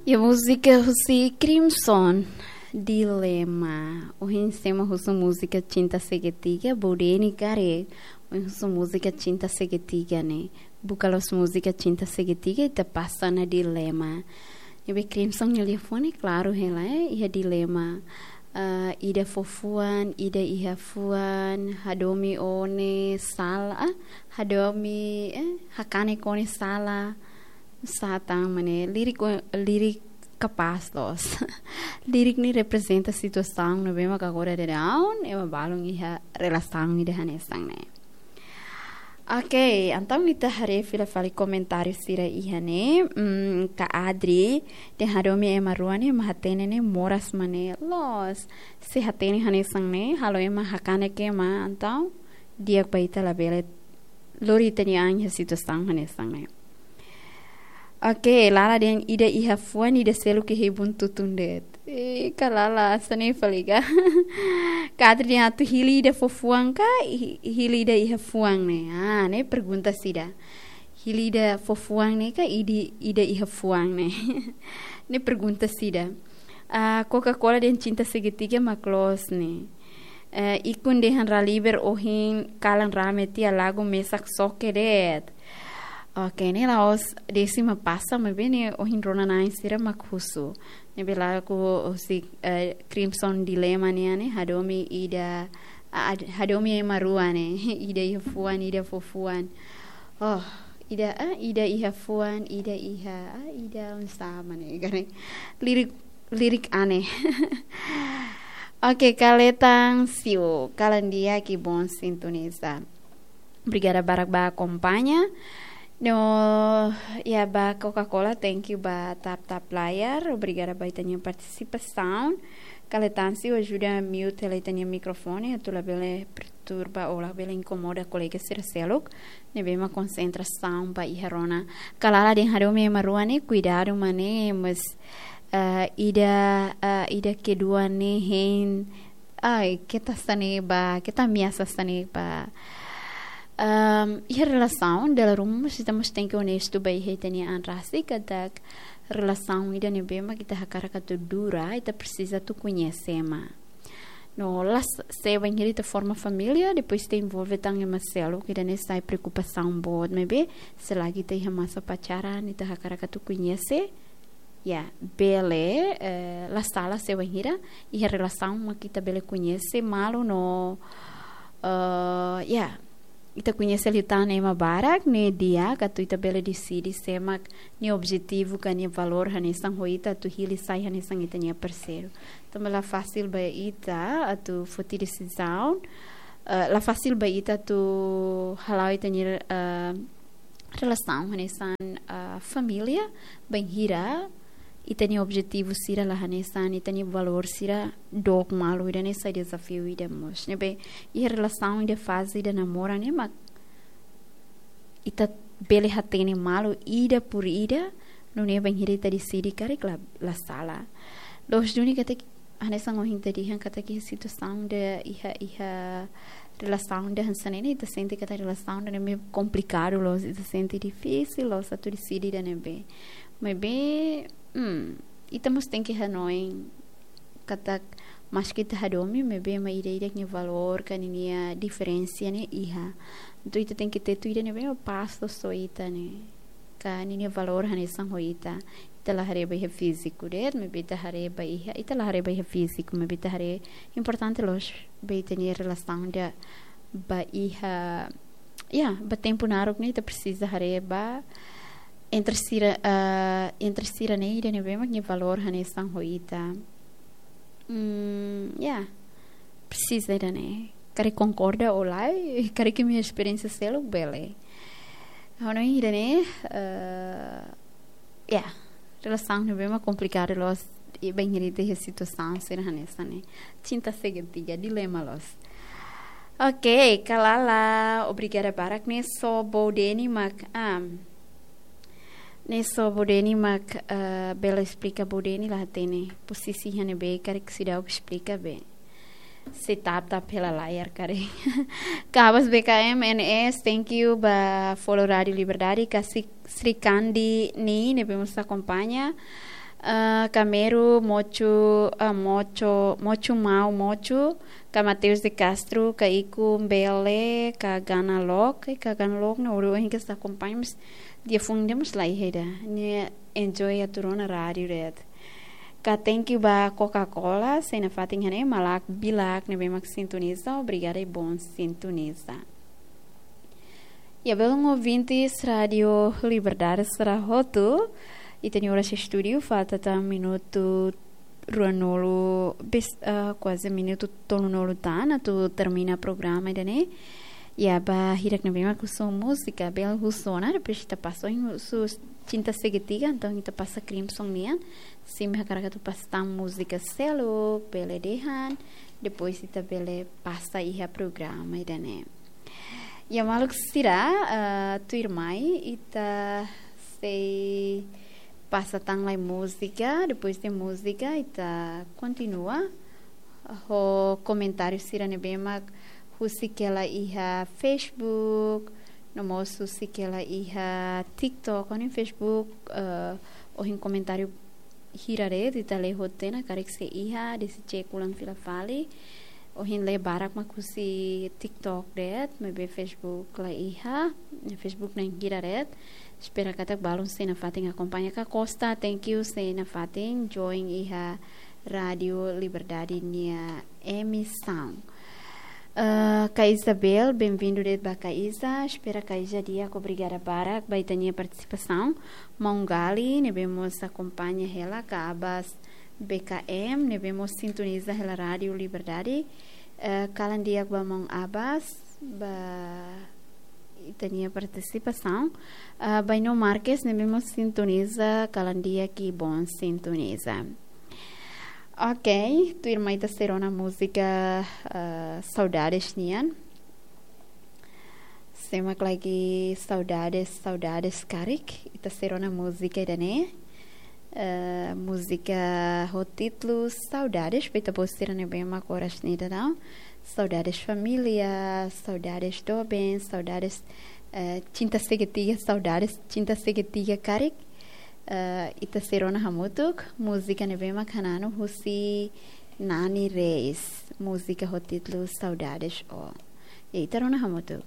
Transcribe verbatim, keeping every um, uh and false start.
Iha múzika husi Crimson, Dilema. Ohin sé mak husu múzika Cinta Segitiga, Bodeni karik. Ohin husu múzika Cinta Segitiga ne'e. Buka loos múzika Cinta Segitiga, ita pasa ona Dilema. Ne'ebé Crimson nia liafuan klaru hela, eh, iha dilema. Ah, ida fó fuan, ida iha fuan, hadomi ó-nia sala, ah, hadomi, eh, hakanek ó-nia sala. Satan mane, lirik, lirik kapás loos. Lirik ne'e reprezenta situasaun ne'ebé mak agora daudaun, ema balun iha relasaun ida hanesan ne'e. Oke, entaun ita haree fila fali komentáriu sira iha ne'e. Mm, Ka Adri, dehan hadomi ema rua ne'e mak hatene ne'e moras mane. Loos, se hatene hanesan ne'e, halo ema hakanek ema, entaun di'ak ba ita labele lori ita-nia an iha situasaun hanesan ne'e. Oke, Lala dehan ida iha fuan, ida seluk iha ibun tutun de'it. Eh, Ka Lala, hanesan ne'e fali ka? Ka Adri dehan atu hili ida fó fuan ka, hi-, hili ida iha fuan ne'e. Ah, ne'e pergunta ida. Hili ida fó fuan ne'e ka, ida, ida iha fuan ne'e. Ne'e pergunta ida. Ah, Coca-Cola dehan Cinta Segitiga mak loos ne'e. Eh, Ikun dehan Raliber ohin kalan rame tiha, lagu mesak xoke de'it. Oke, ne'e la'ós Desi mak pasa, maibé ne'e ohin rona-na'in sira mak husu. Ne'ebé lagu husi, eh, Crimson Dilema nian ne'e, hadomi ida, a-, ad-, hadomi ema rua ne'e, ida iha fuan, ida fó fuan. Oh, ida, ah, ida iha fuan, ida iha, ah, ida oinsá mane, gane. Lirik, lirik aneh. Oke, Kaletan Siu, kalan di'ak, que bom sintonizar. Obrigada barak ba akompaña. No, ya, ba Coca-Cola, thank you ba tap-tap layar. Obrigada ba ita-nia partisipasaun. Kaletan Siu, ajuda mute hela ita-nia mikrofone, atu labele perturba ou labele inkomoda kolega sira seluk ne'ebé mak konsentrasaun ba iha rona. Ka Lala dehan hadomi ema rua ne'e, kuidadu mane, mas, eh, ida, eh, ida kedua ne'e hein, ai, keta hanesan ne'e ba, keta ameasa hanesan ne'e ba. Ehm, iha relasaun, dala ruma mós ita mós tenke onestu ba iha ita-nia an rasik, katak relasaun ida ne'ebé mak ita hakarak atu dura, ita presiza atu koñese ema. No, la s-, se bainhira ita forma família, depois ita envolve tan ema seluk, ida-ne'e sai preokupasaun boot, maibé se lagi ita iha masa pacaran, ita hakarak atu koñese, ya, bele, eh, la sala se bainhira iha relasaun mak ita bele koñese malu no, eh, ya, ita koñese liután ema barak, ne'e di'ak atu ita bele deside sé mak nia objetivu ka nia valór hanesan ho ita atu hili sai hanesan ita-nia parseiru. Tanba la fasil ba ita atu foti desizaun, eh, la fasil ba ita atu hala'o ita-nia, eh, relasaun hanesan, eh, família, bainhira ita-nia objetivu sira la hanesan, ita-nia valór sira dook malu, ida-ne'e sai dezafiu ida mós. Ne'ebé, iha relasaun ida, faze ida namora ne'e mak ita bele hatene malu ida por ida, nune'e bainhira ita deside karik la, la sala. Loos duni katak, hanesan ohin ita dehan katak iha situasaun ida, iha, iha relasaun ida hanesan ne'e, ita sente katak relasaun ida ne'e meio komplikadu loos, ita sente difisil loos atu deside ida ne'ebé. Maibé, hmm, ita mós tenke hanoin katak maski ita hadomi, maibé ema ida-idak nia valór ka ninia diferensa ne'e iha. Entaun ita tenke tetu ida ne'ebé mak pas loos ho ita ne'e. Ka ninia valór hanesan ho ita. Ita la haree ba iha fíziku de'it, maibé ita haree ba iha, ita la haree ba iha fíziku, maibé ita haree importante loos ba ita-nia relasaun ida ba iha, ya, ba tempu naruk ne'e ita presiza haree ba entre sira, ah, entre sira ne'e ida ne'ebé mak nia valór hanesan ho ita. Hmm, ya. Presiza ida-ne'e. Karik konkorda ou lae, karik imi-nia esperiénsia seluk bele. Ha'u hanoin ida-ne'e, eh, ya, relasaun ne'ebé mak komplikadu loos, i bainhira ita iha situasaun sira hanesan ne'e. Cinta segitiga, dilema loos. Oke, Ka Lala, obrigada barak, ne'e só Bodeni mak, ah, ne'e só Bodeni mak, eh, bele esplika, Bodeni la hatene posisi iha ne'ebé, karik seidauk esplika be. Se tap-tap hela layar karik. Kabas B K M N S, thank you ba follow Rádio Liberdade, Ka Sri-, Srikandi Ni, ne'ebé mós akompaña. Ah, Kameru, Mochu, ah, Mocho, Mochu Mau, Mochu, ka Mateus de Castro, ka Iku Mbele, ka Gana Lok, ka Gana Lok, ne'e ohin ke ita akompaña, mas dia fun demos la iha ida. Ne'e enjoy atu rona rádiu de'it. Ka thank you ba Coca-Cola, sei nafatin iha ne'e, malak bilak ne'ebé mak sintoniza, obrigada i bon sintoniza. Ya, belun ouvintes Rádiu Liberdade sira hotu, ita-nia oras estúdiu falta tan minutu ruanulu, bis-, ah, kuaze minutu tolunulu tan atu termina programa ida-ne'e. Ya, ba hirak ne'ebé mak husu múzika, bele husu ona, depois ita pasa ohin husu Cinta Segitiga, entaun ita pasa Crimson nian. Simu hakarak atu pasa tan múzika seluk, bele dehan, depois ita bele pasa iha programa ida-ne'e. Ya, maluk sira, eh, tuirmai ita sei pasa tan lai múzika, depois de múzika ita kontinua ho komentáriu sira ne'ebé mak husik hela iha Facebook, no mós husik hela iha TikTok, no Facebook, eh, ohin komentáriu hira de'it, ita lee hotu ona, karik sei iha, desde cek ulang fila fali. Ohin lee barak mak husi TikTok de'it, maibé Facebook la iha, Facebook na'in hira de'it. Espera katak balun sei nafatin akompaña ka Costa, thank you sei nafatin join iha Rádiu Liberdade nia emisaun. Eh, Ka Isabel, bem-vindo de'it ba Ka Isa. Espera Ka Isa di'ak, obrigada barak ba ita-nia partisipasaun. Maun Gali, ne'ebé mós akompaña hela, ka Abas B K M, ne'ebé mós sintoniza hela Rádiu Liberdade. Eh, kalan di'ak ba maun Abas, ba ita-nia partisipasaun. Eh, Baino Marques, ne'ebé mós sintoniza, kalan di'ak i bon sintoniza. Ok, tuirmai ita sei rona múzika, eh, Saudades nian. Sé mak lagi saudades, saudades karik. Ita sei rona múzika ida-ne'e. Eh, múzika ho títulu Saudades, ba ita-boot sira ne'ebé mak oras ne'e daudaun. Saudades família, saudades doben, saudades, eh, Cinta Segitiga, saudades Cinta Segitiga karik. Eh, ita sei rona hamutuk, múzika ne'ebé mak hananu husi Nani Reis, múzika ho títulu Saudades O. Ya, ita rona hamutuk.